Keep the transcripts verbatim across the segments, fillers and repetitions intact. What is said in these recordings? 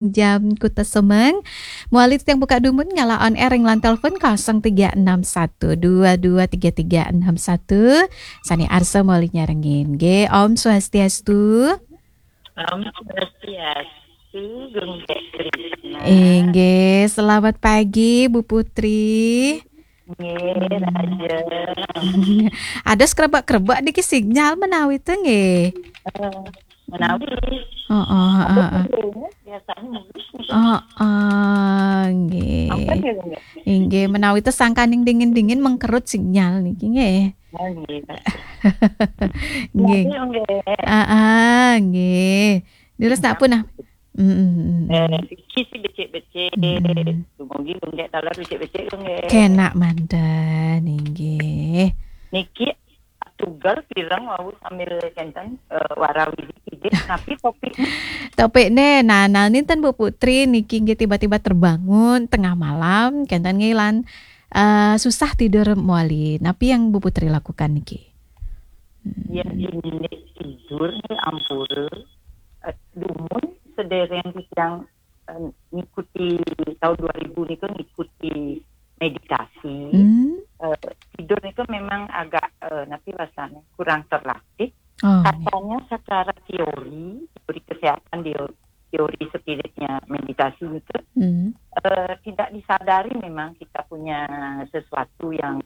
Jam Kuta Semeng. Mawali titiang buka dumun ngala on air ring line telepon kosong tiga enam satu dua dua tiga tiga enam satu. Sané arsa mawali nyarengin. Nggih, Om Swastiastu. Om Swastiastu, Gung Dék Krisna. Inggih, selamat pagi, Bu Putri. Nggih, raja. Ada krebek-krebek niki sinyal menawi to nggih. Eh, menawi. Heeh, Ada heeh. Krebeknya, biasanya mulus nih. Heeh, nggih. Apa dia, Gung Dék? Inggih, menawi to sangkaning dingin-dingin mengkerut sinyal niki nggih. Oh, nggih, Pak. Nggih. Nggih, nggih. Heeh, nggih. Dulu Iya. Pun ah. Mm, mm, mm, mm. Eh, iki sih becik-becik. Mm, mm. Dumugi Gung Dék taler becik-becik, Gung Dék. Kenak manten, inggih. Niki tugel pireng wau sambil kénten, eh, warawiri tidih. Napi topiknya? Topikné, nah, nah, ninten Bu Putri niki nggih tiba-tiba terbangun tengah malam, kénten nggih lan, eh, susah tidur mawali. Napi yang Bu Putri lakukan niki? Hmm. Yén indik tidur nih ampura, eh, dumun sedéréng titiang, eh, ngikuti tahun dua ribu niku ngikuti meditasi. Hmm. Eh, tidur niku memang agak, eh, napi rasanya kurang terlatih. Oh, nggih. Katanya secara teori, teori kesehatan, teo-, teori spiritnya meditasi niku, Hmm. eh, tidak disadari memang kita punya sesuatu yang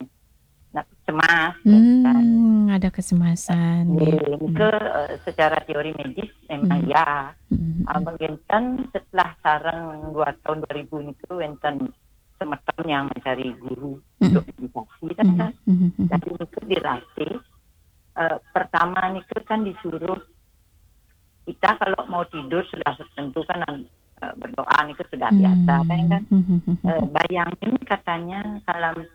nak cemas, ya kan? Hmm, ada kecemasan, Nggih, nggih. Niku, Hmm. eh, secara teori medis memang Hmm. ya. Hmm. Ah, mungkin setelah sareng dua tahun dua ribu niku wénten semeton yang mencari guru Hmm. untuk meditasi, kan, Hmm. kan? Hmm. Hmm. Jadi niku dilatih, eh, pertama niku kan disuruh kita kalau mau tidur sudah tentu kan, eh, berdoa niku sudah biasa, kan, kan? Hmm. Hmm. Hmm. Eh, bayangin katanya kalau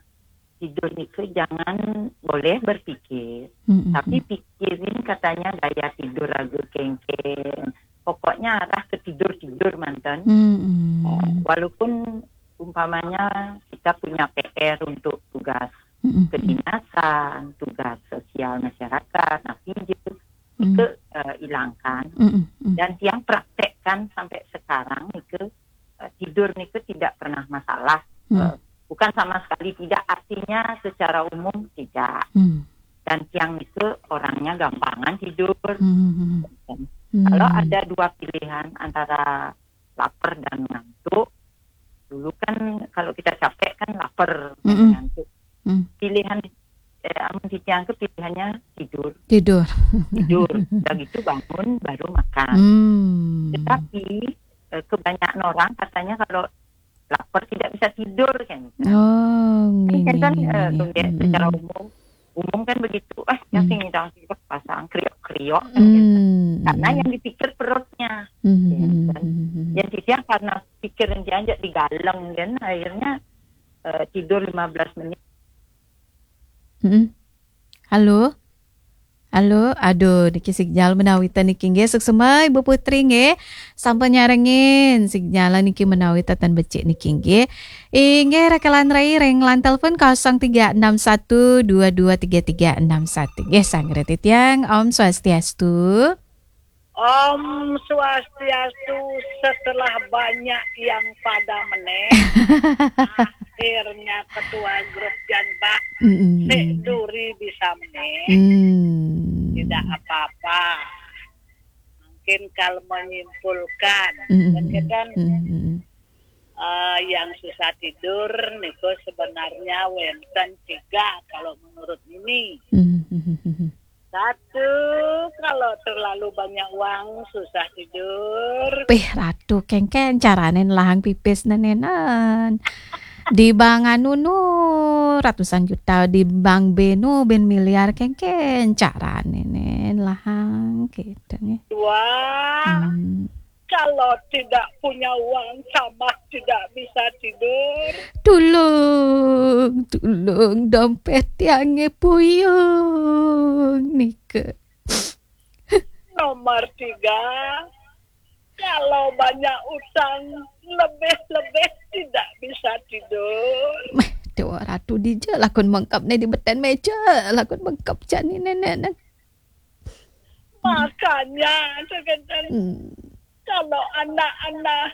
tidur niku jangan boleh berpikir, Hmm. Hmm. tapi Hmm. pikirin katanya gaya tidur raga kéngkén. Pokoknya arah ke tidur-tidur manten. Hmm. Hmm. Eh, walaupun umpamanya kita punya P R untuk tugas Hmm. Hmm. kedinasan, tugas sosial masyarakat, napi ja, Hmm. itu, eh, ilangkan. Hmm. Hmm. Hmm. Dan tiang praktekkan sampai sekarang niku, eh, tidur niku tidak pernah masalah. Hmm. Eh, bukan sama sekali tidak, artinya secara umum tidak. Hmm. Dan tiang niku orangnya gampangan tidur. Hmm. Hmm. Kalau Hmm. ada dua pilihan antara lapar dan ngantuk, dulu kan kalau kita capek kan lapar, Hmm. Ngantuk. Hmm. Pilihan, eh, amun titiang ke pilihannya tidur. Tidur. Tidur. Udah gitu bangun, baru makan. Hmm. Tetapi, eh, kebanyakan orang katanya kalau lapar tidak bisa tidur, kan. Oh, Kan nggih, kan, nggih, eh, nggih. Secara Hmm. umum, umum kan begitu. Ah, yang Hmm. sing ngidang sing pasang kriok-kriok, kan. Hmm. Karena yang dipikir perutnya. Hmm. Ya, kan. Hmm. Yang sisi karena pikiran dia aja digaleng, kan. Akhirnya, eh, tidur lima belas menit. Hmm. Halo? Halo, aduh, niki sinyal menawi ten niki nggih, suksma Ibu Putri nggih. Sampun nyarengin sinyal niki menawi ten becik niki nggih. Inggih, rekelan rai ring line telepon kosong tiga enam satu dua dua tiga tiga enam satu. Nggih, sanggra titiang, Om Swastiastu. Om Swastiastu, setelah banyak yang pada meneh, akhirnya ketua grup Janbak, Mm-mm. Sek Duri bisa meneh. Mm. Tidak apa-apa. Mungkin kalau menyimpulkan, Mm-mm. Kan, Mm-mm. eh, yang susah tidur niku sebenarnya wénten tiga kalau menurut Mimi. Mm-mm. Satu, kalau terlalu banyak uang, susah tidur. Pih, Ratu, kéngkén carané nelahang pipis nénénan. Di bank anu nu, ratusan juta, di bank B nu, bin miliar, kéngkén carané né nelahang, gitu, nggih. Dua, Hmm. kalau tidak punya uang sama tidak bisa tidur. Tulung, tulung, dompet tiangé puyung, nika. Nomor tiga, kalau banyak utang, lebih-lebih tidak bisa tidur. Meh, Dewa Ratu dija lakun mengkep né di beten méja, lakun mengkep jani nénénan. Makanya, kadang-kadang Hmm. kalau anak-anak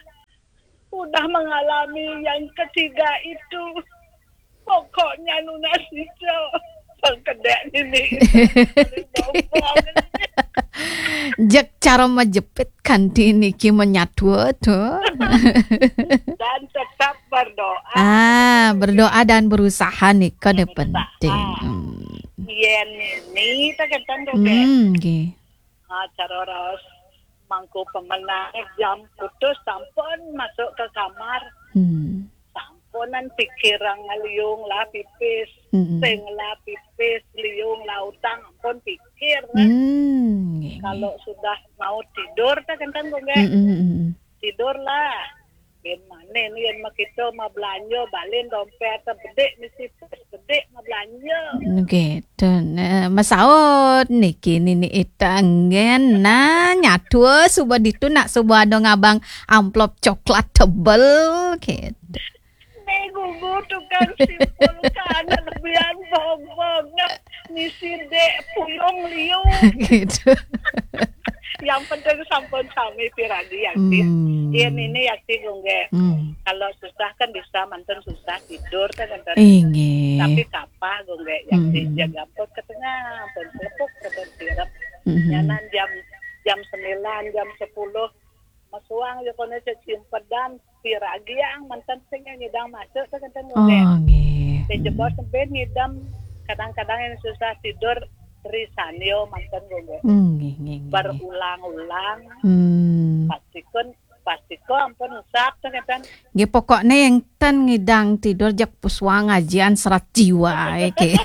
Udah mengalami yang ketiga itu. Pokoknya nunas ijo. Pengkedek nini. Jeg cara majepit kanti niki menyatu to. Dan tetap berdoa. Ah, berdoa dan berusaha nika ne Berusaha. Penting. Hmm. Yen ini tak kenten to. Hmm, nggih. Ah, cara raos mangku pemenang jam putus sampun masuk ke kamar. Hmm. Sampunan pikir liung lah pipis. Hmm. Sing lah pipis, liung lah utang, ampun pikir. Hmm, nggih. Kalau sudah mau tidur tak kenten, Gung Gé. Hmm, hmm, hmm. Tidurlah. Yen maneh ni yen makita mau belanja, balen dompet, bedik mesti pis, bedik mau belanja. Nggih, to, eh, masaut niki nini ita nggih, nah, nyatu suba ditu nak suba ada ngabang amplop coklat tebel gitu. Ni gugu tukang simpulkan lebihan bongbong. Misi dek puyung liu. Gitu. Yang penting sampun sami piragi, Yakti. Hmm. Yen ini, Yakti, Gung Gé. Hmm. Kalau susah kan bisa manten susah tidur kan, manten. Inggih. Tapi kapah, Gung Gé, Yakti, Hmm. jaga ampun ke tengah, ampun selepuk, ampun sirep. Hmm. Nyanan jam jam sembilan, jam sepuluh. Masuang ya kono cecimpedan, piragi yang manten sing nyidang masuk tak kenten, Gung Gé. Oh, nggih. Sing jebos sampai ngidam, kadang-kadang yang susah tidur, risanyo manten, Gung Gé. Hmm, nggih, nggih, nggih, nggih. Berulang-ulang, Hmm. pastikun, pastikun ampun usap tak kenten. Nggih, pokoknya yang ten ngidang tidur jak puswang ajian serat jiwa, eh, gitu.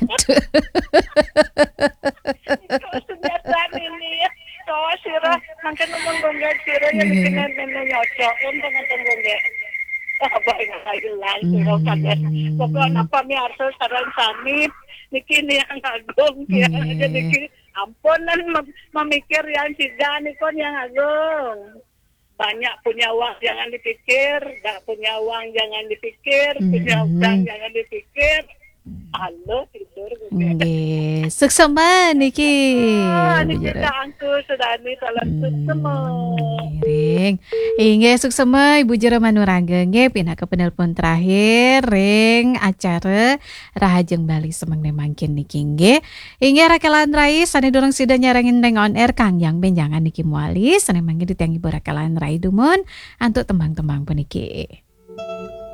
Itu senjata ini ya. Kau sirah, mangkin ngomong, Gung Gé, sirah yang Iya. Dengan nenek nyocok, untung ngeten, Gung Gé. Ah, baik, hilang, sirah, Hmm. kadang. Pokoknya apa mi arsa sarang sami, niki ni yang agung, ya. Iya. Jadi niki ampunan mem- memikir yang tiga ni kon yang agung. Banyak punya uang jangan dipikir, tak punya uang jangan dipikir, punya Hmm. utang jangan dipikir. Halo, tidur, Gung Gé. Nggih, suksema niki. Ah, Bu niki Jero. Kak Angku Sudani, salam suksema. Hmm, ring. Inggih, suksema Ibu Jero Manurangga nggih, pinaka penelpon terakhir ring acara Rahajeng Bali semeng mangkin niki nggih. Inggih, rakelan rai sane durung sida nyarengin ring on air, kangge benjangan niki mawali, sane mangkin titiang Ibu rakelan rai dumun antuk tembang-tembang puniki.